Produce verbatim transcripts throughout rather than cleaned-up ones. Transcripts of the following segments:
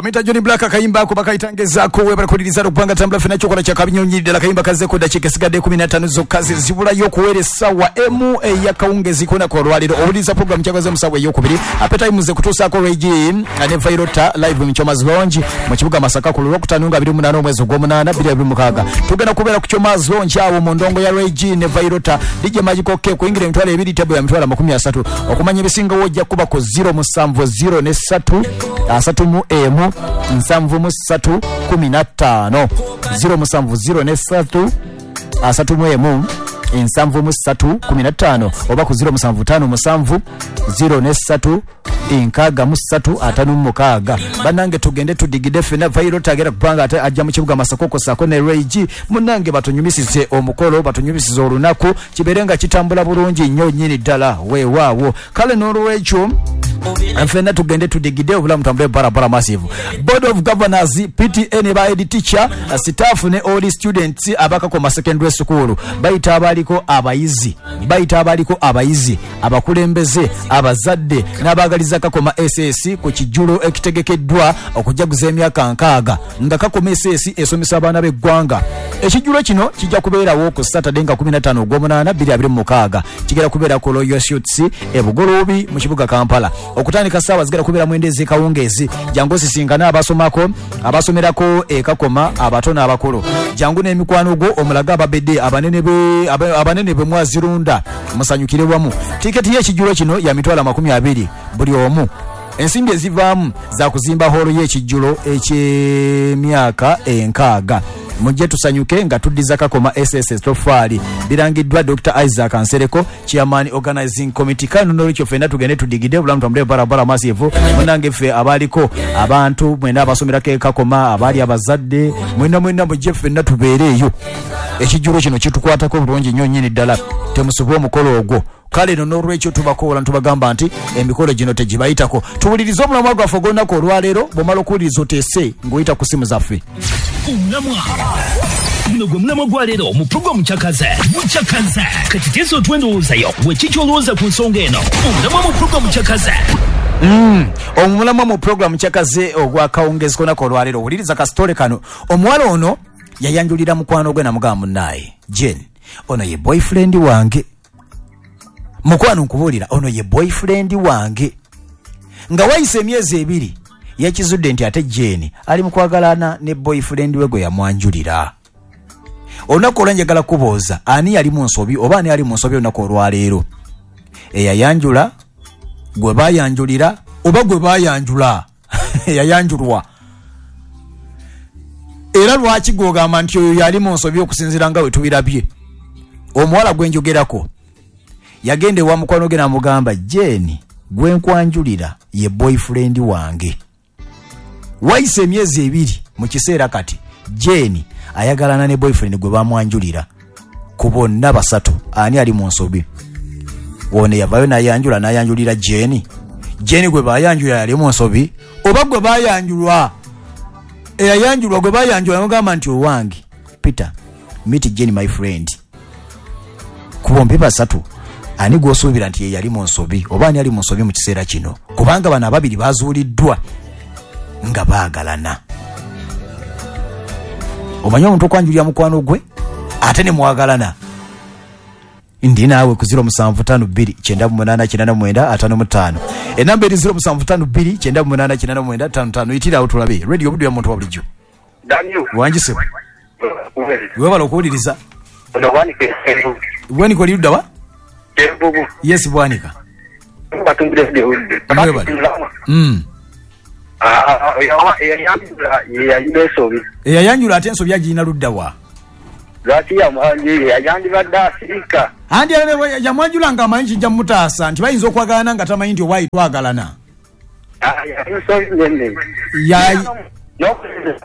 Bamita Johnny Black akayimba ako bakayitangezaako. Webala kuwuliriza okubanga tambula ffenna kyokola kya kabinyonyi ddala. Kayimba kazzeeko ddakiika esigadde kumi na ttaano zokka ze zibulayo okuweera essaawa emu ey'akawungeezi k'olunaku olwaleero. Owuliriza pulogulaamu Kyakaze mu ssaawa ey'okubiri. Appetime ze kutuusaako Ray G ne Vyroota live mu Choma's Lounge mu kibuga Masaka ku Lwokutaano nga abiri mu munaana omwezi ogw'omunaana bbiri abiri mukaaga. Tugenda kubeera ku Choma's Lounge awo mu ndongo ya Ray G ne Vyroota. D J Magical K, kuyingira emitwalo ebiri, table ya mitwalo amakumi asatu. Okumanya ebisingawo ojja kuba ku zero musanvu zero ne ssatu asatu mu emu nsanvu mu ssatu kumi na ttaano, zero musanvu zero ne ssatu asatu mu emu ensanvu mu ssatu kumi na ttaano, oba ku zero musanvu ttaano musanvu zero ne ssatu enkaaga mu ssatu ataano mu mukaaga. Bannange, tugende tudigide ffenna. Vyroota agenda kubanga ate ajja mu kibuga Masaka okossaako ne Ray G. Munnange, batunyumisize omukolo, batunyumisize olunaku, kibeere nga kitambula bulungi nnyo nnyini ddala. Weewaawo. Kale n'olwekyo ffenna tugende tudigide, obulamu tambule barabara massive. Board of Governors, P T A ne ba head teacher, staff ne all students abakakoma Secondary School bayita abaliko abayizi bayita abaliko abayizi, abakulembeze, abazadde n'abaagaliza Kakoma S S ku kijjulo ekitegekeddwa okujaguza emyaka nkaaga nga Kakoma S S esomesa abaana b'eggwanga. Ekijjulo kino kijja kubeerawo ku Saturday nga kumi na ttaano ogw'omunaana bbiri abiri mu mukaaga. Kigenda kubeera ku Royal Suites e Bugoloobi mu kibuga Kampala okutandika ssaawa zigenda kubeera mwenda ez'ekawungeezi. Jangu osisinkane abasomako, abasomerako e Kakoma, abato n'abakulu. Jangu n'emikwano gwo, omulage ababedde abanene be abe- abanene be mwazirunda, musanyukire wamu. Tiketi y'ekijjulo kino ya mitwalo amakumi abiri buli omu. Ensimbi ezivaamu za kuzimba hoolo y'ekijjulo eky'emyaka enkaaga. Mujje tusanyuke nga tuddiza Kakoma S S tofaali. Birangiddwa Doctor Isaac Nsereko, chairman organizing committee. Kano nolwekyo ffenna tugende tudigide, obulamu tambule barabara massive. Munange, ffe abaliko abantu mwena abasomerako e Kakoma, abaali abazadde, mwena mwena mujje ffenna tubeereeyo. Ekijjulo kino kitukwatako bulungi nnyo nnyini ddala, temusubwa omukolo ogwo. Kale no n'olwekyo tubakoola ntubagamba nti emikolo gino tegibayitako. Tuwulirize omulamwa gwaffe ogw'olunaku olwaleero. Bw'omala okuwuliriza, oteese ng'oyita ku simu zaffe. Omulamwa guno gwe mulamwa gwa leero mu pulogulaamu Kyakaze Mukyakaze. Kati teesa otuwe endowoozayo weki kyolowooza ku nsonga eno. Omulamwa mu pulogulaamu Kyakaze. Omulamwa mu pulogulaamu Kyakaze ogwakawungezi k'olunaku olwaleero, owuliriza kasitole kano. Omuwala ono yayanjulira mukwano gwe namugamba, "Munnaaye Jane, ono ye boyfriend wange. Mukwano, nkubuulira, ono ye boyfriend wange." Nga wayise emyezi ebiri, yakizudde nti ate Jane ali mu kwagalana ne boyfriend we gwe yamwanjulira. Olunaku olwa njagala kubuuza, ani yali mu nsobi oba ani ali mu nsobi olunaku olwaleero? Eyayanjula, gwe bayanjulira, oba gwe bayanjula eyayanjulwa? Era lwaki gwogamba nti oyo yali mu nsobi okusinziira nga bwe tubirabye? Omuwala gwe njogerako yagenda ewa mukwano ge namugamba, "Jane gwe nkwanjulira ye boyfriend wange." Wayise emyezi ebiri, mu kiseera kati Jane ayagalana ne boyfriend gwe bamwanjulira. Ku bonna basatu, ani ali mu nsobi? Ono yavayo nayanjula, nayanjulira Jane. Jane gwe bayanjulira yali mu nsobi, oba gwe bayanjulwa, eyayanjulwa, gwe bayanjula namugamba nti, "Owange Peter, meet Jane, my friend"? Ku bombi basatu, ani gwosuubira nti ye yali mu nsobi oba ani ali mu nsobi mu kiseera kino? Kubanga bano ababiri bazuuliddwa nga baagalana. Omanyi omuntu okwanjulira mukwano gwe ate ne mwagalana? Ndi naawe ku zero musanvu ttaano bbiri kyenda mu munaana kyenda mu mwenda ataano mu ttaano. Enamba eri zero musanvu ttaano bbiri kyenda mu munaana kyenda mu mwenda ttaano ttaano. Yitirawo tulabe. Radio Buddu ya muntu wa bulijjo. Daniel. Wangisebwa, webala okuwuliriza. Ono Bwanika. Bwanika, oli ludda wa? Kyenvubu. Yes, Bwanika. Batumbire Buddu. Mwebale. Mm. Eyayanjula yeyalina ensobi. Eyayanjula ate ensobi agirina ludda wa? Lwaki yandibadde asirika? Andi yamwanjula nga amanyi kijja mutaasa nti bayinza okwagalana, nga tamanyi nti owaayi twagalana. Ensobi nene. Ya-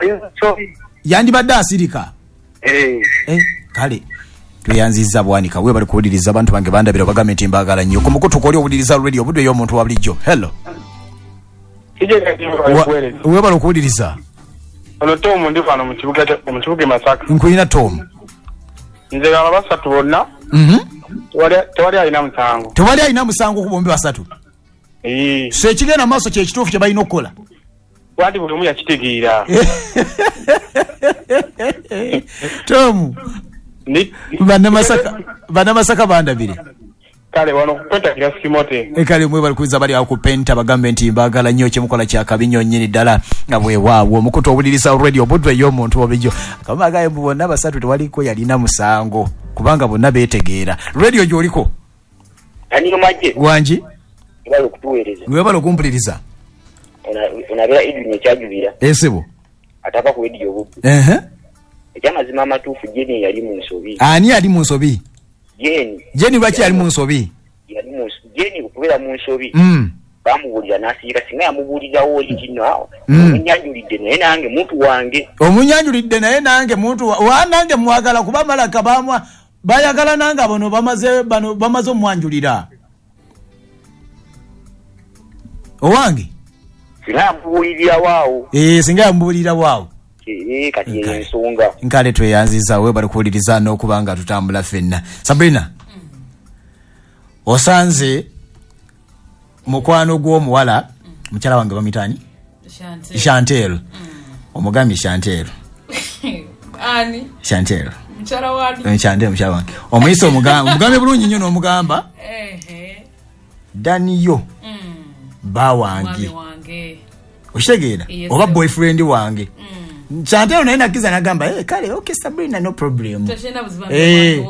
Ensobi. Yandibadde asirika. Eh. Eh, kale tweyanziza Bwanika, webali kuwuliriza. Abantu bange bandabira, bagambe nti mbaagala nnyo. Ku mukutu kwoli owuliriza Radio Buddu ey'omuntu wa bulijjo. Hello. Wa- webala okuwuliriza. Ono Tomu, ndi wano mu kibuga kya- mu kibuga e Masaka. Nkulina Tom. Nze aba basatu bonna Mhm. tewali tewali alina musango. Tewali alina musango ku bombi basatu? Ee. So ekigenda maaso kyekituufu kye balina okukola? Wandi buli omu yakitegeera. Tomu bannamasaka bannamasaka bandabire. Kale wano kupenta kirasimote. Ekale mwe bali kuiza bali akupenta bagambe nti mbagala nnyo kyemukola kya kabinyo nnyini ddala nga bwewaawo omukutu owuliriza radio Buddu ey'omuntu obulijjo. Kamagaye mbu bonna basatu tewaliko yalina musango kubanga bonna beetegeera. Radio gy'oliko? Ani maje? Wangi? Webale okutuweereza. Webale okumpuliriza. Onabeera Edwin ekyajubira. Esebo. Atava ku Radio Buddu. Ehe. Ekyamazima amatuufu Jeni yali mu nsobi. Ani yali mu nsobi? Jeni. Jeni lwaki yali mu nsobi? Yali mu Jeni okubeera mu nsobi. Mm. Bamubuulira n'asiika singa yamubuulirawo oli kino awo. Mm. Omunyanjulidde naye nange muntu wange. Omunyanjulidde naye nange muntu wa, wa nange mwagala kuba malaka bamwa bayagala nange bano bamaze bano bamaze omwanjulira. Owange? Singa yamubuulirirawo awo. Eh, singa yamubuulirirawo awo. Eh, kati ye ensonga. Nkale tweyanziza we bali kuwuliriza n'okubanga tutambula ffenna. Sabrina. Mm. Osanze mukwano gw'omuwala mm. mukyala wange bamuyita Chantel. Chantel. Mm. Omugambye Chantel. Ani? Chantel. Mukyala wani? Chantel mukyala wange. Omuyise omugamba, omugambe bulungi nnyo n'omugamba. Ehe. Daniyo. Mm. Ba wange. Wange. Okitegeera? Yes, oba boyfriend wange. Mm. Chantel naye nakiza nagamba, "Eh, kale okay Sabrina no problem." Tashena buzibu. Eh. Eh,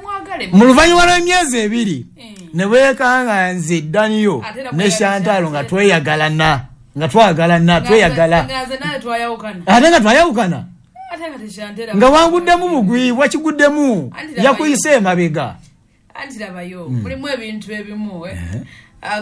mwagale. Mu luvannyuma lw'emyezi ebiri mm. ne weekanga nze Daniyo ne Chantal nga tweyagalana, nga twagalana, tweyagala. Nga naye twayawukana. Ate nga twayawukana. Ate nga Chantel. Nga wanguddemu bugwi, wakiguddemu. Yakuyise emabega. Anti labayo, mm. mulimu ebintu ebimu eh. Eh.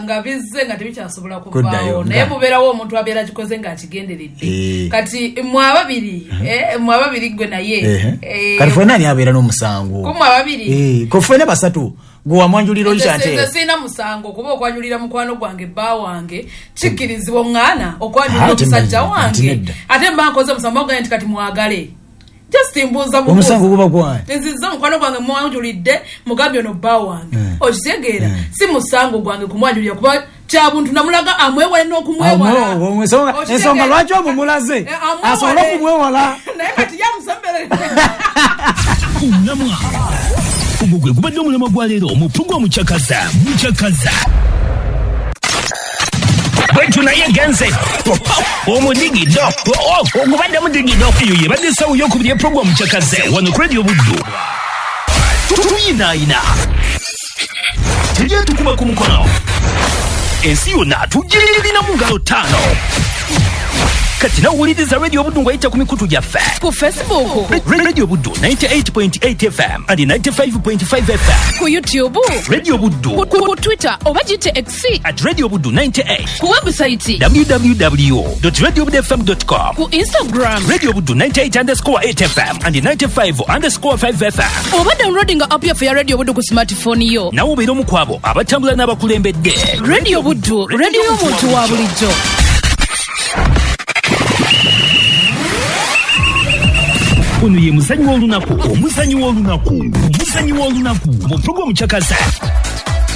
Nga bizze nga tebikyasobola kuvaawo naye mubeerawo omuntu abeera kikoze ng'akigenderedde e. Kati mwe ababiri uh -huh. eh, mwe ababiri gwe naye eh. Kati ffenna ani abeera n'omusango? Ku mwe ababiri eh, ko ffenna basatu gwe wamwanjulira oli Chantel. Nze sirina musango kuba okwanjulira mukwano gwange bba wange kikkirizibwa oŋŋaana okwanjulira omusajja wange ate mba nkoze omusango mbagambe nti kati mwagale. Just mbuuza bubuuza. Omusango guba gwani? Nziza mukwano gwange mwanjulidde mugambye ono bba wange. Mm. Okitegeera Mm. si musango gwange kumwanjulira kuba kya buntu namulaga amwewale n'okumwewala. Ensonga ensonga lwaki omumulaze asobole okumwewala. Naye kati yamusemberera. Omulamwa ogwo gwe gubadde omulamwa gwa leero mu pulogulaamu Kyakaza Mukyakaza. Bwetu naye genze omudigido ogubadde mudigido eyo yebadde essaawa ey'okubiri epulogulaamu Kyakaze wano ku Radio Buddu. Tuyinaayina tujye tukuba ku mukono ensi yonna tugirina mu ngalo ttaano. Kati nawuliriza Radio Buddu ng'oyita ku mikutu gyaffe ku Facebook Radio Buddu ninety-eight point eight F M and ninety-five point five F M, ku YouTube Radio Buddu, ku, ku, ku Twitter oba gite X at Radio Buddu ninety-eight, ku website w w w dot radio buddu f m dot com, ku Instagram Radio Buddu ninety-eight underscore eight F M and ninety-five underscore five F M, oba downloading app yaffe ya Radio Buddu ku smartphone yo. Nawe obeera omu ku abo abatambula n'abakulembedde. Radio Buddu, radio y'omuntu wa bulijjo. Ono ye muzanyi w'olunaku, omuzanyi w'olunaku, omuzanyi w'olunaku mu pulogulaamu Kyakaza.